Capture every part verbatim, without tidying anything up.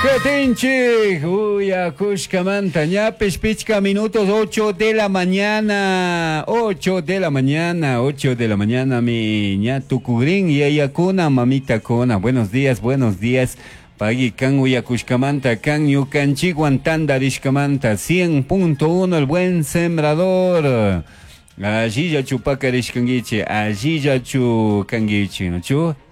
Ketinchik, uyakushkamanta ñapish pichka minutos ocho de la mañana, ocho de la mañana, ocho de la mañana mi ña tukugrin yayakuna mamitakuna. Buenos días, buenos días. Pagui kan uyakushkamanta, kan ñukanchikwan tantarishkamanta, cien punto uno el buen sembrador. Allilla chupakarishkankichi, allilla chukankichi, ¿no?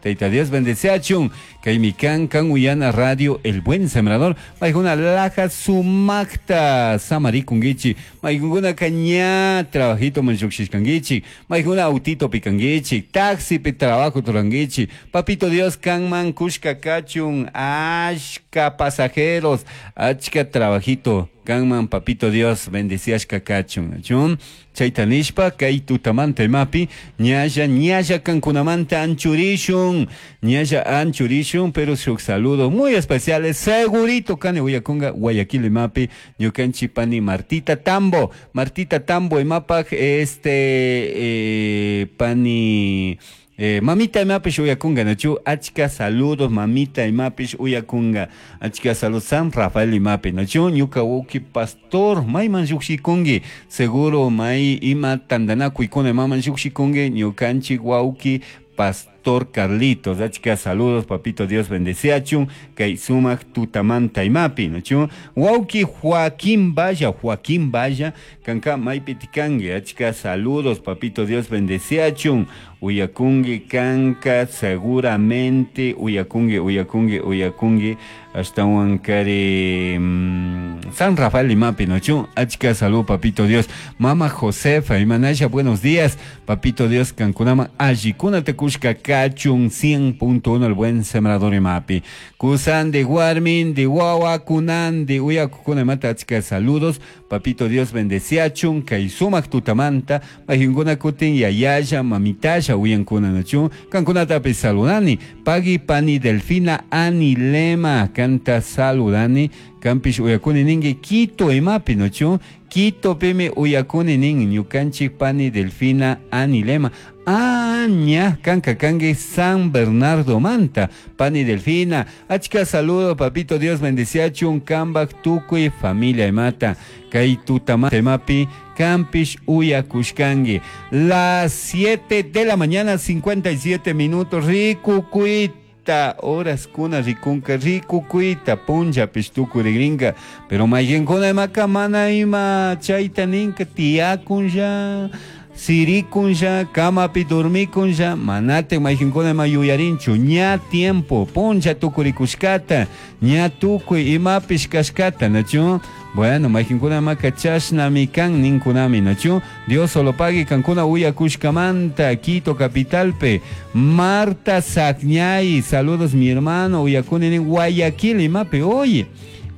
Taita Dios bendeciachun, kaymi kan kan uyana radio El Buen Sembrador, maykuna laja sumakta samarikunkichi, maykuna kaña trabajito manchukshishkankichi, maykuna autito pikankichi, taxi pi trabajo turankichi, papito Dios kanman kushka kachun, ashka pasajeros, achka trabajito, kanman papito Dios bendeciashka kachun, ¿no? Chayta nishpa kay tutamanta imapi ñalla ñalla kankunamanta anchurishun, ñalla anchurishun, pero shuk saludo muy especiales segurito kani uyakunga Guayaquil imapi ñukanchi pani Martita Tambo, Martita Tambo imapaj este eh, pani Eh, mamita imapish uyakunga, nachu achka saludos mamita imapish uyakunga, achka saludos San Rafael imapi, nachu ñuka uki pastor mayman llukshikungi, seguro may ima tandanakuykuna imaman llukshikungi, ñukanchik wawki pastor Carlitos, achka saludos papito Dios bendeciachun, kay sumak tutamanta imapi, nachu wawki Joaquín Valla, Joaquín Valla, kanka maypi tikangi, achka saludos papito Dios bendeciachun, uyakungi kanka seguramente uyakungi, uyakungi, uyakungi, ashtawan kari, mm, San Rafael imapi, nachu achka salud papito Dios, mama Josefa imanasha, buenos días papito Dios kankunama allikuna tekushka kachun cien punto uno el buen sembrador imapi, kusandi warmin di wawa kunandi uyakukuna imata achka saludos papito Dios bendeciachun kay sumak tutamanta majinkuna kutin yayaya mamitaya uyankuna nachu kankunatapi saludani pagi pani Delfina Anilema kanta saludani kampish uyakuni ningi Quito imapi nachu Quito pimi uyakuni ningi ñukanchik pani Delfina Anilema Aña, kanka kangi San Bernardo Manta, pani Delfina, achka saludo, papito Dios bendeciachun, kambak tukuy familia imata, kay tutamanta imapi, kampish uyakushkangi. Las siete de la mañana, cincuenta y siete minutos, rikukuita, horas kuna rikunka, rikukuita, puncha pishtukurigrinka, pero mayenkuna imaka mana ima chayta ninka, tiakunlla, sirikunlla, kamapi dormikunlla, manate majinkuna ima yuyarinchu, ña tiempo, puncha tukurikushkata, ña tukuy imapish kashkata, nachu? Bueno, majinkuna imaka chashnami kan ninkunami, nachu? Dios solo pague kankuna uyakushkamanta, Quito capitalpe, Marta Sacñay, saludos mi hermano, uyakuni nin Guayaquil imapi, oye.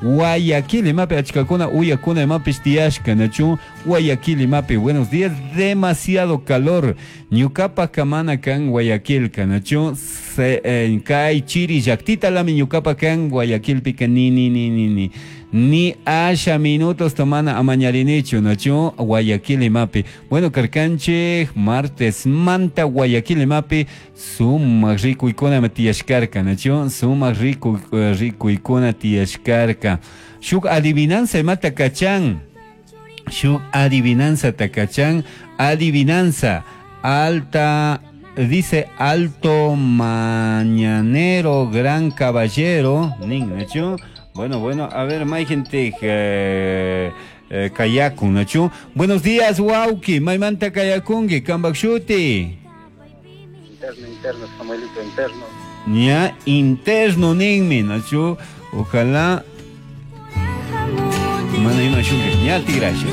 Guayaquil imapi achkakuna uyakuna imapish tiyashka, nachu? Guayaquil imapi, buenos días, demasiado calor, ñukapa kamana kan Guayaquil, nachu? Se, eh, kay chiri llaktita lami ñukapa kan Guayaquil pika ni ni ni ni ni ni asha minutos tomana amañarinichu, nachu? Guayaquil imapi, bueno, karkanchik martes manta Guayaquil imapi sumak rikuykuna tiyashkarka, nachu? Sumak riku, rikuykuna tiyashkarka. Shuk adivinanza imata kachan, shuk adivinanza takachan, adivinanza alta, dice alto mañanero, gran caballero, nin, nachu? Bueno, bueno, a ver, may gente, eh, eh, kayakun, nachu? Buenos días, wauki, maymanta kayakungi, kambakshuti. Interno, interno, Samuelito, interno. Ña, interno, ninmi, nachu? Ojalá. Mana ima shunke, ña tigrasha.